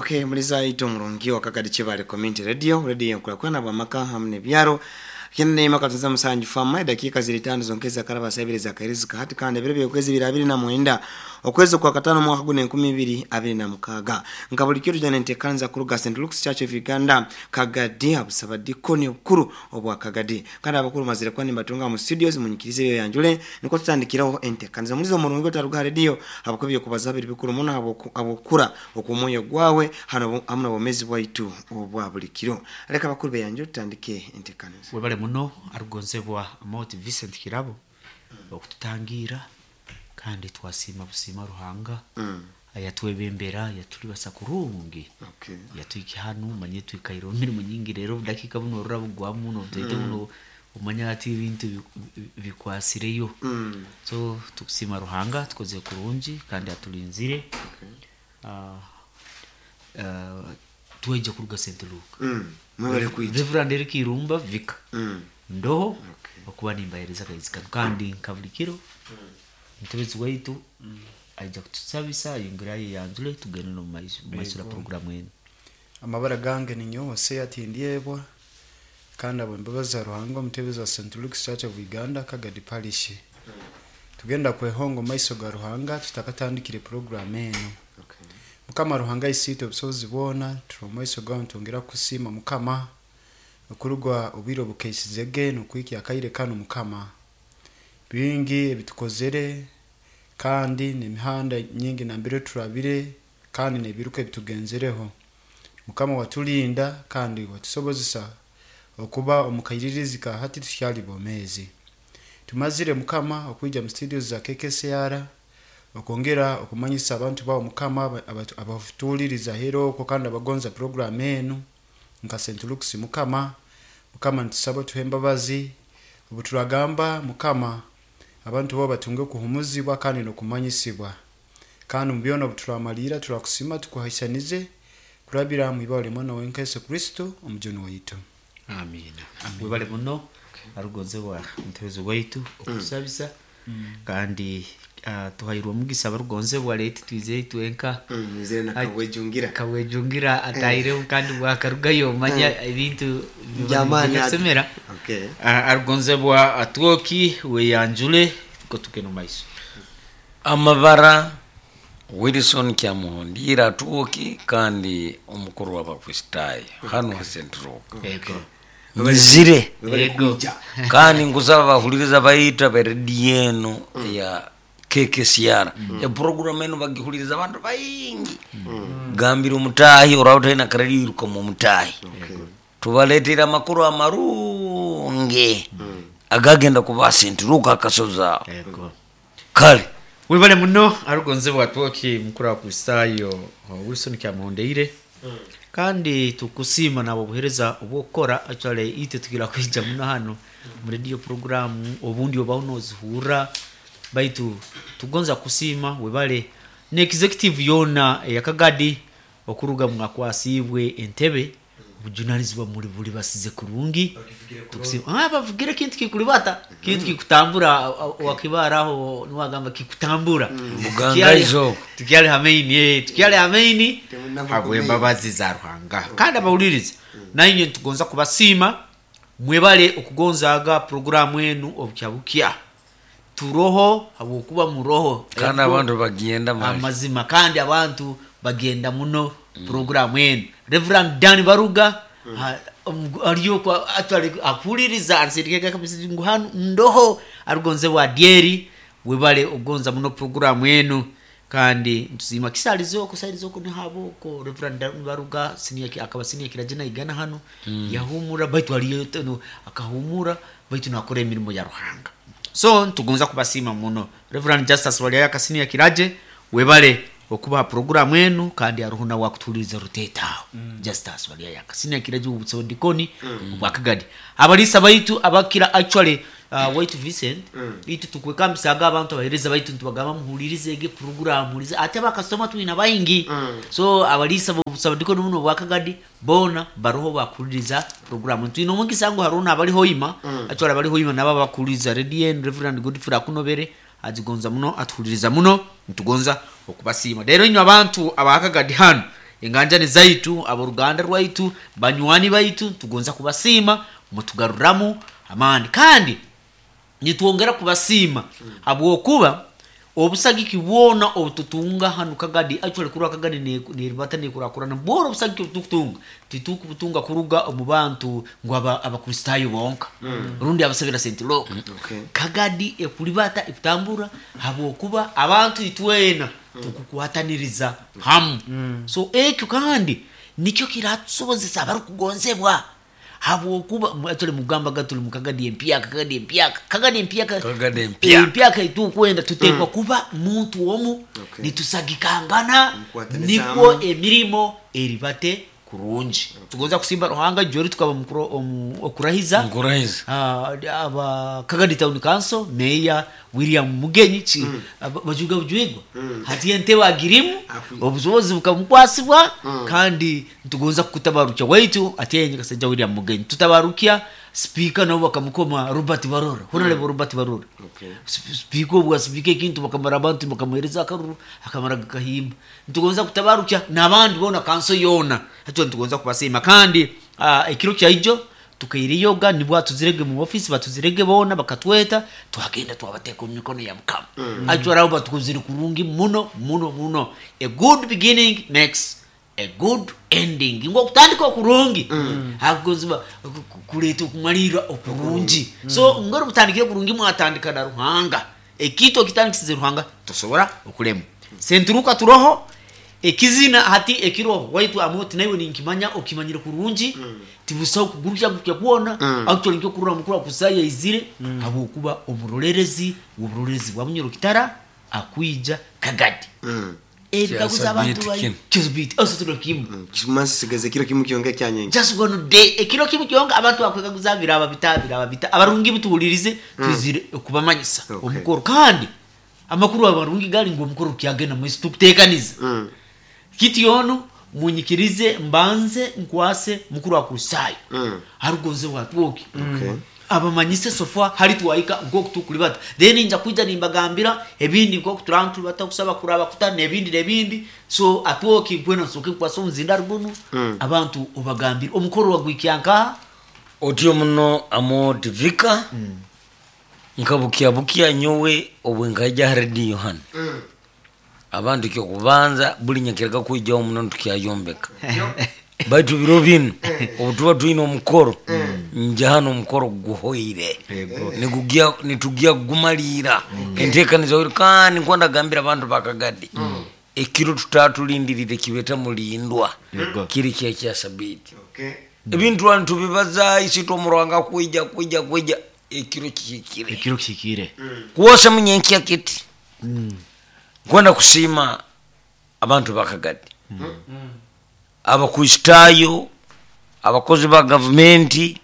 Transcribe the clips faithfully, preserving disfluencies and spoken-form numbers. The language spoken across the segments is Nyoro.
Okay, muliza ito murungi wa Kagadi Chibale Community Radio, radio yankulakulana bwamaka hamwe n'ebyaro. Kine maka tuza musanju fama dakika ziri tano zonkeza karaba sabiri za kairizi hati kandi ebiro by'okwezi bibiri abiri na mwenda okwezi kwa katano mwaka gune enkumi ibiri abiri na mukaga nka buli kiro jana ntekanza kuruga Saint Luke's Church of Uganda Kagadi abusabadikoni obukuru obwa Kagadi kandi abakuru mazire kwani batunga mu studios munyikirize byo yanjule niko tutandikiraho entekanza mulizo murungi otaruga radio abakubye kubaza biri bikuru muno abokura okumoyo gwawe hano amuna bomezi bwaitu obwa buli kiro reka abakuru beyanjule tutandike entekanza. Webale muno arugonzebwa Moti Vincent Kirabo mm. okututangira kandi twasima busima Ruhanga mm. ayatwebembera yatulibasa kurungi okay. Yatuiki hanu manye twikairo mirimo nyingi rero dakika buno rurabugwa muno tete mm. buno umanya ati ibintu bikwasireyo mm. So tukusima Ruhanga tukoze kurungi kandi atulinzire okay. uh, uh, tweje kuruga Saint Luke mm. Mwebale kuija Reverend Eric Irumba Vika mm. Ndoho okay. Okuba nimbahereza kaizikano kandi nkabulikiro mm. Mutebezi waitu mm. aija kutusabisa yongera yanjule tugende no maiso maiso la programu eno. Amabara gange ni nyose atindyebwa kandi abo mbabaza Ruhanga omutebezi wa Saint Luke's Church of Uganda Kagadi Parish mm. Tugenda kwehongo maiso ga Ruhanga tutakatandikire programu eno okay. Mukama Ruhanga isito obusobozi bwona turomaiso gawe ntongera kusima Mukama okurugwa obwiro bukeisizege nokwiki akaire kano Mukama bingi ebitukozere kandi nemihanda nyingi nambere turabire kandi nebiruka ebitugenzereho Mukama watulinda kandi watusobozesa okuba omukairirizi ka hati tukyali bomezi tumazire Mukama okuija mu studios za K K C R okongera okumanyisa abantu bawo Mukama abafutuliriza hero ko kandi abagonza program enu nka Saint Luke's Mukama Mukama ntusaba tuhemba bazi obuturagamba Mukama abantu bo batunge kuhumuzibwa kandi nokumanyisibwa kandi mu byona obuturamalira turakusima tukuhaisanize kurabira mu ibale mwana wenka Yesu Kristo omujoni waitu. Amina. Webale muno okay. Arugonzebwa mutebezi waitu okusabisa mm. kandi Uh, tuhairwa mugisa barugonzebwa leti twize twenka mm, nze na kabwejungira kabwejungira ataire kandi bwakarugayo manya ebintu jamani asemera okay. Uh, arugonzebwa atwoki weyanjule ko tukeno maiso amabara Wilson Kyamuhondira atwoki kandi omukuru w'abakristayo hano ha Saint Luke okay. Nzire kandi ngusaba bahuliriza bayita beredi eno mm. ya K K C R mm. E program eno bagihuliriza abantu bayingi mm. Gambira omutahi orawutaina karaliruka mu mutahi okay. Tubaletera amakuru amarungi mm. agagenda kuba Saint Luke akasoza yego kale webale muno arugonzebwa atwoki mukuru wa Kristayo Wilson Kyamuhondeire mm. Kandi tukusima nabo buhereza obukora actually ite tugira kwija muno hano mu radio program obundi obaho nozihura baitu tugonza kusima webale ne executive yona ya Kagadi okuruga mwakwasibwe entebe obujunalizibwa muri buli basize kurungi tukusima ah bavugire kintu kikulibata kintu kikutambura wakibaraho niwagamba kikutambura mugangaizo tukyali hamaini eh tukyali hamaini abwe mbabazi za Ruhanga kandi abawuliriza nainye tugonza kubasima mwebale okugonzaga programu enu obukyabukia turoho habwokuba muroho kandi abantu bagenda amazima kandi abantu bagenda muno mm. programu enu Reverend Dan Baruga mm. ariyo kwa actually akuliriza ansirikeka kabisa ngu hano ndoho arugonze wa dieri webale ogonza muno programu enu kandi ntuzima kisalizo kusalizo ko nihabo ko Reverend Dan Baruga senior akaba senior kirajina igana hano mm. yahumura baitu ariyo akahumura baitu nakora emirimo ya Ruhanga. So tugonza kubasima muno Reverend Justus Waliaya kasini ya kiraje webale okuba programu enu kandi aruhuna wakutuliza rutetaho mm. Justus Waliaya kasini ya kiraje ubusondikoni mm. obwakagadi abalisa baitu abakira actually uh, waitu Vincent mm. itu tukwekambisa abantu abahereza baitu ntubagamba muhulirize ege program mulize ate bakasoma twina bayingi mm. So abalisa bobusondikoni muno obwakagadi bona baroho bakuliriza program twino omugisa ngo haruna abali hoima mm. actually abali hoima nabo bakuliriza Radio Reverend Godfrey Akunobere azigonza muno atuhuliriza muno ntugonza okubasiima. Rero inywe abantu abakagadi hano Enganjani zaitu, aboruganda rwaitu, banywani baitu, tugonza kubasiima, mutugaruramu amaani. Kandi nitwongera kubasiima habwokuba obusagiki bwona obututunga hanu Kagadi, actually kurwa Kagadi neribata nekurakurana, bwona obusagiki obutukutunga titukubutunga kuruga omu bantu ngu aba- Abakristaayo bonka rundi abasabira Saint Luke. Okay. Kagadi ekuribata ekutambura habwokuba abantu itwena tukukwataniriza hamu. So ekyo kandi nikyo kiratusobozesa abarukugonzebwa, habwokuba mu- actually mugambaga tuli mu Kagadi empyaka, Kagadi empyaka, Kagadi empyaka, Kagadi empyaka. Empyaka itukwenda tutekwa kuba muntu omu. Okay. Nitusagikangana Mukwataniza nikwo hamu. emirimo eribate kurungi. Tugonza kusimba Ruhanga jori tukaba mukuro- omu- okurahiza Nkurahiza. Ah, aba Kagadi Town Council, Mayor William Mugenyi ki aba- bajuga bujwigwa hati entebe agirimu, Akwi- obusobozi bukamukwasibwa. Kandi ntugonza kukutabarukya waitu ati Kasajja William Mugenyi, tutabarukya speaker nabo bakamukoma Robert Barora, Honorable Robert Barora. Okay. Sp- speaker obwa speaker ekintu bakamara abantu bakamuhereza akaruru akamara gakahimba. Ntugonza kutabarukya n'abandi bona, kanso yona hati ntugonza kubasiima. Kandi ah, ekiro kyaijo tukairiyoga nibwo atuzirege mu office, batuzirege bona bakatweta, twagenda twabateka omu mikono ya Mukama. mm. Actually batukuzire kurungi muno muno muno. A good beginning makes a good ending, ngo okutandika okurungi mm. hakugonzibwa kuleeta okumalirra okurungi. So ngori mutandikire kurungi, mwatandika na Ruhanga, ekintu okitandikisize Ruhanga tosobora okulema. Senturuka turoho ekizina hati ekiroho waitu amoti naiwe ninkimanya okimanyire kurungi, tibusaho kugurukya gukya kuona. Actually nkyo kurura mukuru akusaya izire habwokuba omurorerezi w'oburorerezi bwa Bunyoro Kitara akwija Kagadi ebikaguza abantu Kyasabiti bai kinu. Kyasabiti aso kimu. Kimansi sigeze kiro kimu kyonka kyanyenje. Just one day, ekiro kimu kyonka abantu bakwekaguza biraba bita biraba bita. Abarungi butuwulirize, twizire okubamanyisa Okay. omukoro. Kandi amakuru abarungi gali ngu omukoro kyagenda mwisi tukutekaniza Mm. kiti ono munyikirize mbanze nkwase mukuru wa Kristayo Mm. harugonze bwatwoki Okay. abamanyise sofa hari twahika nkoku tukulibata, then nja kwija nimbagambira ebindi nkoku turantulibata kusaba kuraba kuta nebindi nebindi. So atwoki nkwena nsoke nkwasa omuzinda rugunu abantu obagambire omukoro wagwikyankaha. Otyo muno amotivika nkabukia nyowe obwe nkaija ha rediyo hano, abantu kyokubanza buli nyakiraga kwijaho muno tukyayombeka, baitu biro bino obu tuba twine omukoro nja hano omukoro guhoire, nigugia nitugia kugumalira entekaniza oire. Kandi nkwenda gambira abantu bakagadi ekiro tutatulindirire kibeta mulindwa kiri kya kya sabiti. Okay. Ebintu wanu tubibaza isitwe omurwanga kwija kwija kwija ekiro kihikire. Ekiro kihikire. Kuwosa munyenkya kiti nkwenda kusiima abantu bakagadi, Abakristaayo, abakozi ba gavumenti,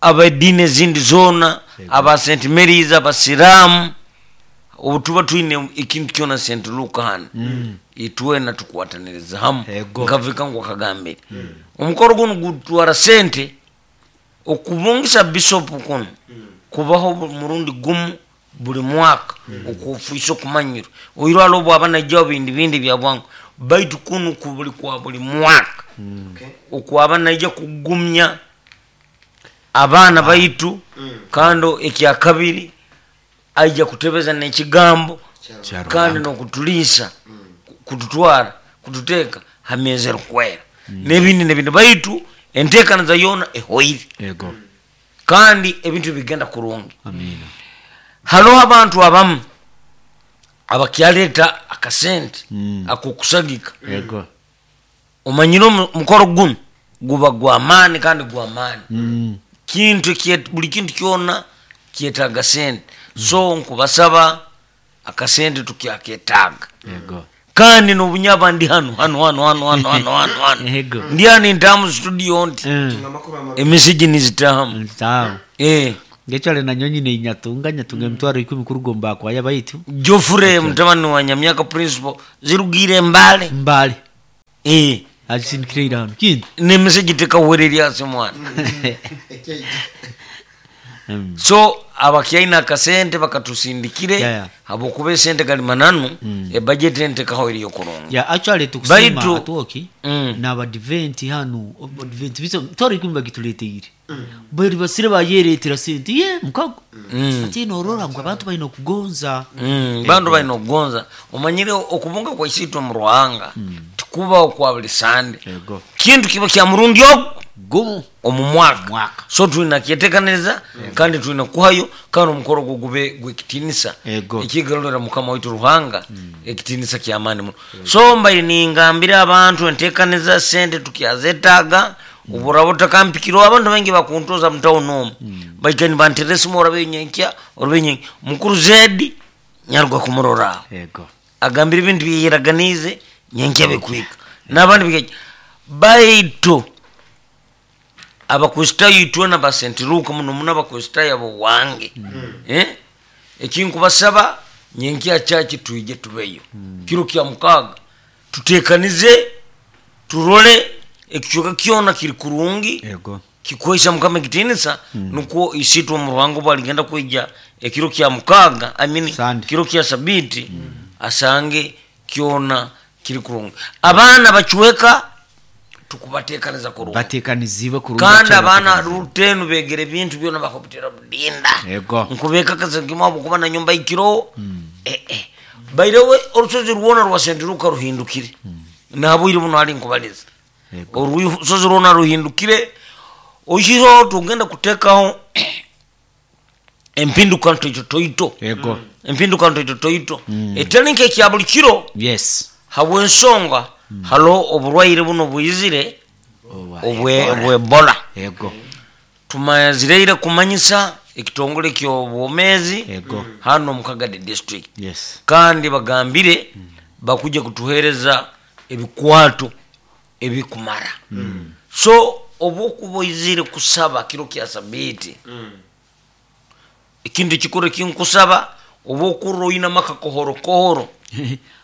abediini ezindi zona, aba Saint Marys, abasiraamu. Obu tuba twine ekintu kyona Saint Luke hano itwena tukwataniriza hamu. Ego. Nkavika ngu akagambire omukoro guno gutwara sente okubungisa bisopu kuno kubaho bu- murundi gumu buli mwaka okufuisa okumanyirwa oirwala obwaba najjaho bindi bindi bya bwangu, baitu kunu kubuli kwa buli mwaka Okay. okwaba naija kugumya abaana baitu. Kandi ekyakabiri aija kutebeza nekigambo kandi nokutuliisa kututwara kututeeka hamezi erukwera nebindi nebindi, baitu entekaniza yoona ehoire. Ego. Kandi ebintu bigenda kurungi. Amina. Haloho abantu abamu abakyaleeta akasente akokusagika. Ego. Omanyire omu- omukoro guno guba gwamaani kandi gwamaani kintu kye- buli kintu kyona kyetaaga sente, so nkubasaba akasente tukyaketaaga. Ego. Kandi nobunyaba ndi hano hano hano hano hano hano hano hano, Ego. ndi hano intamu studio nti Amakuru ama- emisigi nizitahamu. Sawa. Eh, Ngechwale na nyonyi ne nyatunga nyatunga emitwaro ikumi kurugomba kwaya baitu. Jofure mutabani wa Nyamyaka principal zirugire mbale. Mbali. Eh, Akisindikire hano kindi. Nemisigi tekawererya ase mwana. Mm. So abakyaina akasente bakatusindikire, Yeah, yeah. habwokuba esente gali mananu, ebudget entekaho eriyo kurungi. Ya, actually tukusima Baitu- atuoki Mm. n'abadiventi hanu, abadiventi biso tori kumba gituleteire bari basire bayeretera sente ye mukago, ati norora ngu abantu balina okugonza. Mm, bandu balina okugonza. Omanyire okubunga kwa isiitwe mu Ruhanga tikubaho kwa buli sande. Ego. Kintu kiba kya murundi ogu gumu omu mwaka. Mwaka. So tulina kyetekaniriza kandi tulina kuhayo, kandi omukoro ogwo gube gwekitinisa Ego. ekigarurira Mukama waitu Ruhanga ekitinisa kyamaani muno. So mbaire ningambira abantu entekaniza, sente tukyazetaaga. Oburaba otakampikirwa, abantu baingi bakuntoza mutawuni omu, baika nibanterera esimu, orabe nyenkya, orabe nyenkya. Mukuru Zedi nyaruga kumurora aho, ego agambira ebintu byeyeraganize nyenkya bikwika n'abandi bikaija. Baitu Abakristaayo itwena basentiruka muno muno, Abakristaayo abo wange, eh? Ekinkubasaba, nyenkya kyaki twije tubeyo kiro kya mukaaga, tutekanize, turole ekicweka kyona kiri kurungi, ego kikuhaisa Mukama ekitinisa, nukwo isitwe omu Ruhanga obu aligenda kwija ekiro kya mukaaga, I mean, Sunday. kiro kya sabiti, asange kyona kiri kurungi. Abaana bacweka tukubatekaniza kurungi. Batekanizibwe kurungi. Kandi actually abaana batekanizibwe. rutenu begere ebintu byona bakubitera budinda. Ego. Nkubekakaza nkimwabo kuba na nyumba ikiro, eh, eh. Bairewe orusozi rwona rwa Sentiruka ruhindukire nabwire buno ali nkubaliza. Ego. Orusozi rwona ruhindukire oihiro tugenda kutekaho empinduka ntoito toito. Ego. Empinduka ntoito toito etali nkekya buli kiro, Yes. habwensonga halo oburwaire buno bwizire, Owa- obwe obwebola. Ego. Tumazireire kumanyisa ekitongole ky'obwomezi Ego. hano mu Kagadi district, Yes. kandi bagambire bakuja kutuhereza ebikwato ebikumara. So obwokuba oizire kusaba kiro kya sabiti, ekintu ekikuru ekinkusaba, oba okurra oine amaka kohorokohoro,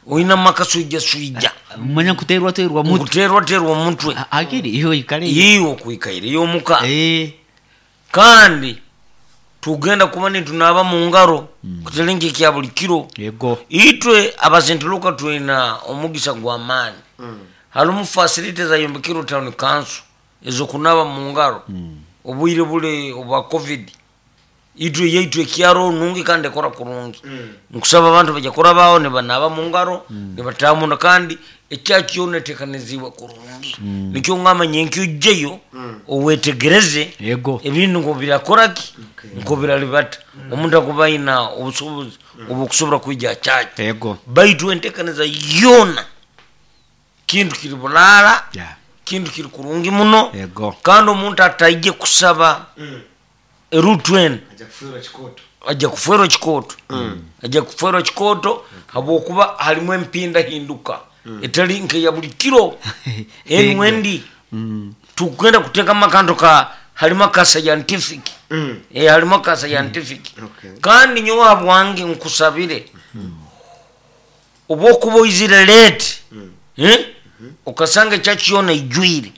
oine amaka swija swija, manya nkuterwa terwa mutwe. nkuterwaterwa omutwe. A- akiri iyo ikale. Iwe okwikaire yomuka. Eh. Kandi tugenda kuba nitunaba mu ngaro kutalinga ekya buli kiro. Ego. Itwe abasentiluka twina omugisa gw'amaani, harimu facility zayombekirwe town council ezokunaba mu ngaro. Obwire bule obwa COVID, itwe yaitu ekyaro nungi kandi ekora kurungi. Nkusaba abantu bajya kurabaho nibanaba mu ngaro, nibatamunda, kandi ekyakyona etekanizibwe kurungi. Nikyo ngamba nyenkyo ojjeyo owetegereze Ego. ebintu nko birakoraki, nko biralibata. Omuntu akuba ayina obusobozi obukusobora kwija kyaki. Ego. Baitu entekaniza yona kintu kiri bulaala, Yeah. kintu kiri kurungi muno. Ego. Kandi omuntu ataije kusaba erutu enu Ajja kufiirwa kikoto. Ajja kuferwa kikoto, ajja kuferwa kikoto, habwokuba halimu empindahinduka etali nkeya buli kiro enu endi. Tugenda kutekamu akantu ka halimu aka scientific, eh, halimu aka scientific. Okay. Kandi nyowe habwange nkusabire, oba okuba oizire late, eh? Okasanga ekyaki yona ijwire,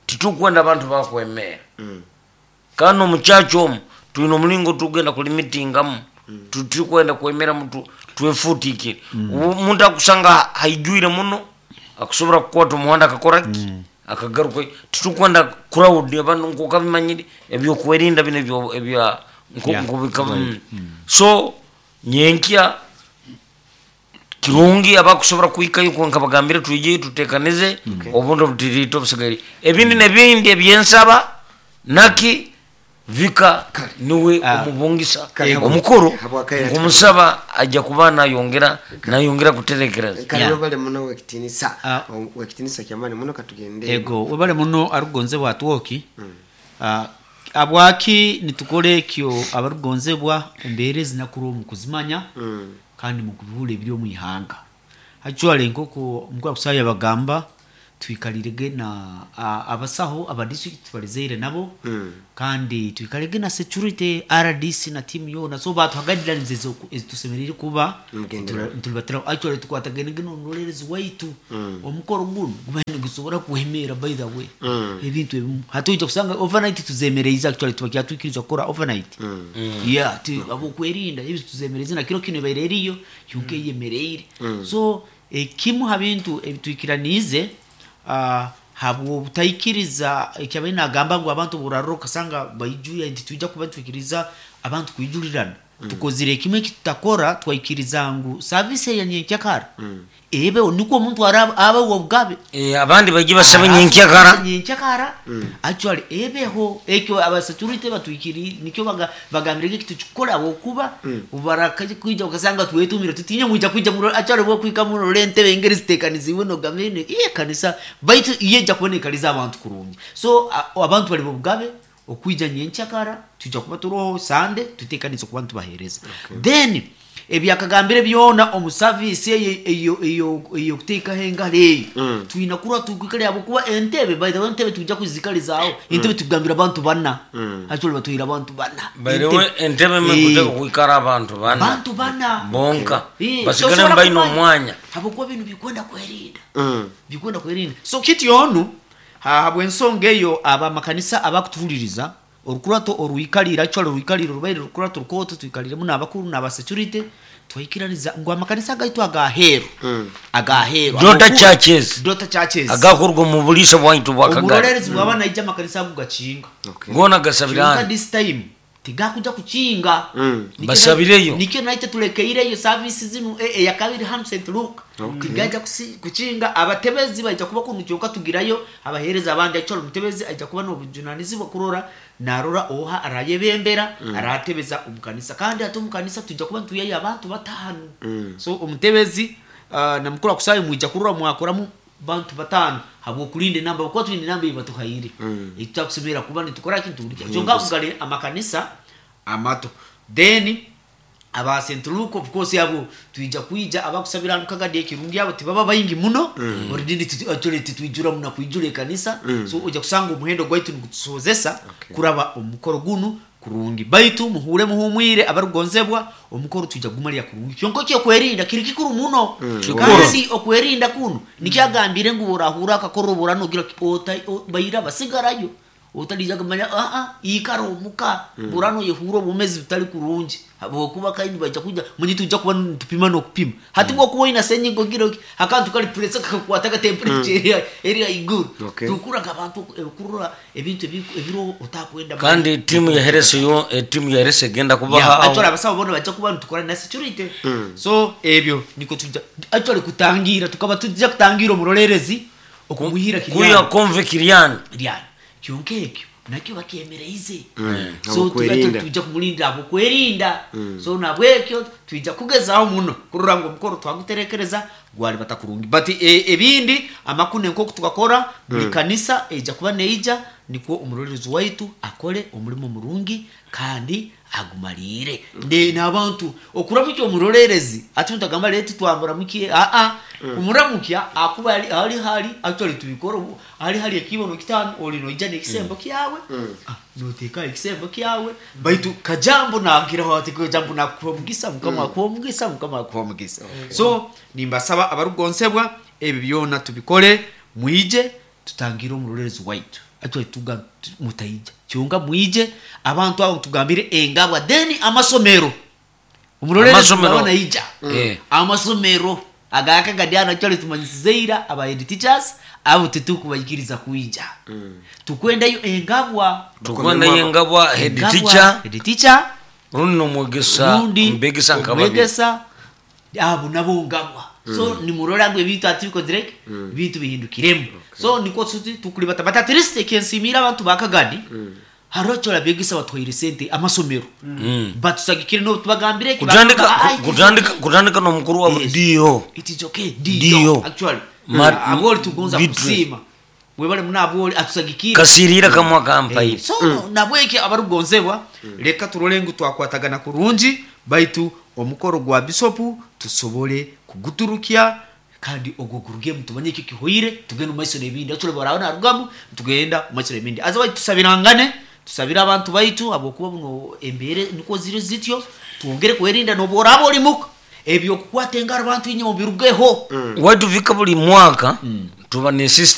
titukwenda abantu bakwemera. Kandi omukyaki omu tulina omulingo tugenda kulimitingamu, titukwenda kwemera mutu twefutikire. Omuntu akusanga haijwire muno akusobora kukwata omuhanda akakoraki akagaruka. Titukwenda crowd, abantu nkokabimanyire ebyokwerinda bino ebyo- ebya nko- Yeah. nkobika- mm. So nyenkya kirungi abakusobora kuhikayo, konka bagambire twije tutekanize obundi obutirito obusigaire ebindi nebindi ebyensaba naki vika niwe Ah. omubungisa Kale. omukuru. Habwakaire. Nkumusaba ajja kuba nayongera nayongera kuterekereza. Kale, Yeah. webale muno wekitinisa. Ah. Wekitinisa kyamaani muno, katugende. Ego, webale muno arugonzebwa atwoki. Ah, abwaki nitukora ekyo abarugonzebwa embeera ezinakuru omu kuzimanya kandi mukubihura ebiri omu ihanga. Actually nk'oku omukuru akusaya bagamba Twikalirege na a- abasaho aba district twalizeire nabo, kandi twikalege na security, R D C na team yona. So batuha guidelines ezo ezitusemerire kuba Mugendera. nturibatira. Actually tukwatagenege n'omurolerezi waitu, omukoro guno guba nigusobora kuhemera. By the way, ebintu ebimu hati kusanga overnight tuzemereize. Actually tubakyatwikiriza kukora overnight, yeah, tu abokwerinda ebi tuzemereze na kiro kino ebaire eriyo kyonka eyemereire. So ekimu ha bintu ebitwikiraniize, uh, habwobutaikiriza ekyabaire nagamba ngu abantu burarora okasanga baijuya nti tuija kuba nitwikiriza abantu kwijurirana. Tukozire kimwe ekitutakora, twaikiriza ngu service eya nyenkyakara ebeho nikwo omuntu araba abe obugabe. Eh, abandi baije basabe nyenkyakara. Nyenkyakara actually ebeho. Ekyo abasecurity batwikiri nikyo baga- bagambire ngeki tukikora okuba ubarakaje kwija ukasanga twetumire tutinye mwija kwija muno. Actually bwo kwika muno entebe engeri zitekanizibwe nogamene iye kanisa baitu iyeja kubonekaliza abantu kurungi. So a- abantu bali bugabe okwija nyenkyakara, tujja kuba turoho sande tutekanize kuba ntubahereza. Then ebyakagambire byona omu service eyo eyo eyo eyo kuteekaho engalo eyo twina kurwa tukwikale abo kuba entebe. By the way, entebe tujja kuzikalizaawo. Entebe tugambira abantu bana, actually batwira abantu bana. Bairewe entebe Eh, mekuteka kwikara abantu bana. Bantu bana. Bonka Eh, basigale tosobola mbaina kumanya. omwanya. Habwokuba bino bikwenda kwerinda, bikwenda kwerinda. So kiti onu habwensonga eyo abamakanisa abakutuhuliriza orukurato oruikalira, actually oruikalira orubaire rukurato rukoto twikaliremu n'abakuru n'abasecurity, twaikiraniza ngu amakanisa gaitu agaheeru agaheeru Daughter Habwokuba- churches. Daughter churches Agakurwa mu bulisa bwaitu bwakagari. Omurolerezi bwaba naija amakanisa ago gakinga. Okay. Gona Kyonka gasabirani. this time tigakuja kukinga. Nikyo Basabireyo. Nikyo naite tulekeireyo service zinu e- eyakabiri hanu Saint Luke tigaja kusi- kukinga. Abatebezi baija kuba kunu kyonka tugirayo abahereza abandi. Actually omutebezi aija kuba n'obujunanizibwa kurora narora oha arayebembera aratebeza omukanisa, kandi ate omukanisa tujja kuba ntuyayo abantu batano. So omutebezi uh, namukuru akusayo mwija kurora mwakoramu bantu batano habwokulinda enamba kuba tulina enamba ei batuhaire mm. Tutakusemera kuba nitukora kintu buli kyonka kugale amakanisa amato. Then aba Saint Luke, of course, abo twija kwija abakusabira hanu Kagadi ekirungi abo tibaba baingi muno mm. Already actually titwijura muna kwijura ekanisa mm. So ojja kusanga omuhendo gwaitu nigutusozesa Okay. kuraba omukoro gunu kurungi. Baitu muhure muhumwire abarugonzebwa, omukoro twija gumalira kurungi kyonka kyokwerinda kiri kikuru muno. Kikuru. Kandi okwerinda kuno nikyagambire ngu orahura akakorobora nogira ota o- baira basigarayo otalija kumanya ah ah ikara omuka burano yehura obumezi butali kurungi habwokuba kaini baija kuja munyi tujja kuba nitupima n'okupima. Hati bwokuba oina senyigo gira akantu kali pressure kakukwata ka temperature eri iguru. Okay. Tukuraga abantu ebikurura ebintu ebi- ebiro otakwenda. Kandi timu ya herese yo etimu ya herese egenda Yeah, kubaha. actually abasawo bona bajja kuba nitukora na security. So ebyo niko tujja actually kutangira, tukaba tujja kutangira omurolerezi okumuhira kuya kiryani konve kiryani. Kiryani kyonka ekyo nakyo bakyemereize. So Abokwerinda. tuba tujja kumulinda abokwerinda. So nabwekyo twijja kugezaho muno kurora ngu omukoro twaguterekereza gwali batakurungi. But e, ebindi amakune nkoku tukakora buli kanisa eija kuba neija nikwo omurorerezi waitu akole omulimo murungi kandi agumalire ne n'abantu okuramukya omurorerezi ati mutagamba leti twamuramukie. Aa, umuramukya akuba ali ali hali actually tubikora ubu, ali hali ekibono kitano oli noija n'ekisembo kyawe. Ah, noteka ekisembo kyawe baitu kajambo nagiraho ati kajambo nakuwa mugisa, Mukama akuwa mugisa, Mukama akuwa mugisa. So nimbasaba abarugonsebwa ebi byona tubikore, mwije tutangire omurorerezi waitu. Actually tuga tu- mutaija kyonka mwije abantu abo tugambire engabwa. Then amasomero omurorerezi Amasomero. waba naija Eh. amasomero agakagadiano actually tumanyisizeira aba head teachers abo tetukubaikiriza kuija. Tukwendayo engabwa. Tukwenda yengabwa head Engabwa, teacher head teacher rundi nomwegesa rundi mbegesa nkababiri. omwegesa abo nabo ngabwa. So nimurora ngu ebintu ati bikozireke ebintu bihindukiremu. So niko tuti tukulibata, but at least ekensimira abantu bakagadi hariho kyora begesa batwaire sente amasomero batusagikire no tubagambire eki, kutandika bagamba, "Ah, it is kutandika kutandika nomukuru wa Yes. dio. It is okay." Dio. Dio actually Ma- aboli tugonza Beatrice. kusima webale muna aboli atusagikire kasirira kamwa kampaire. So nabweki abarugonzebwa leka turole ngu twakwatagana kurungi baitu omukoro gwa bisopu tusobole kuguturukya. Kandi ogwo gurugemu, tumanye ekyo kihoire, tugende omu maiso n'ebindi. Actually, bwaraba narugamu, tugenda omu maiso n'ebindi. Aza baitu tusabirangane, tusabire abantu baitu, habwokuba buno embeera nukwo ziri zityo. Twongere kwerinda. Nobu oraba oli muka, ebyokukwata engaro, bantu inywe mubirugeho. Wetufika buli mwaka tuba ne system.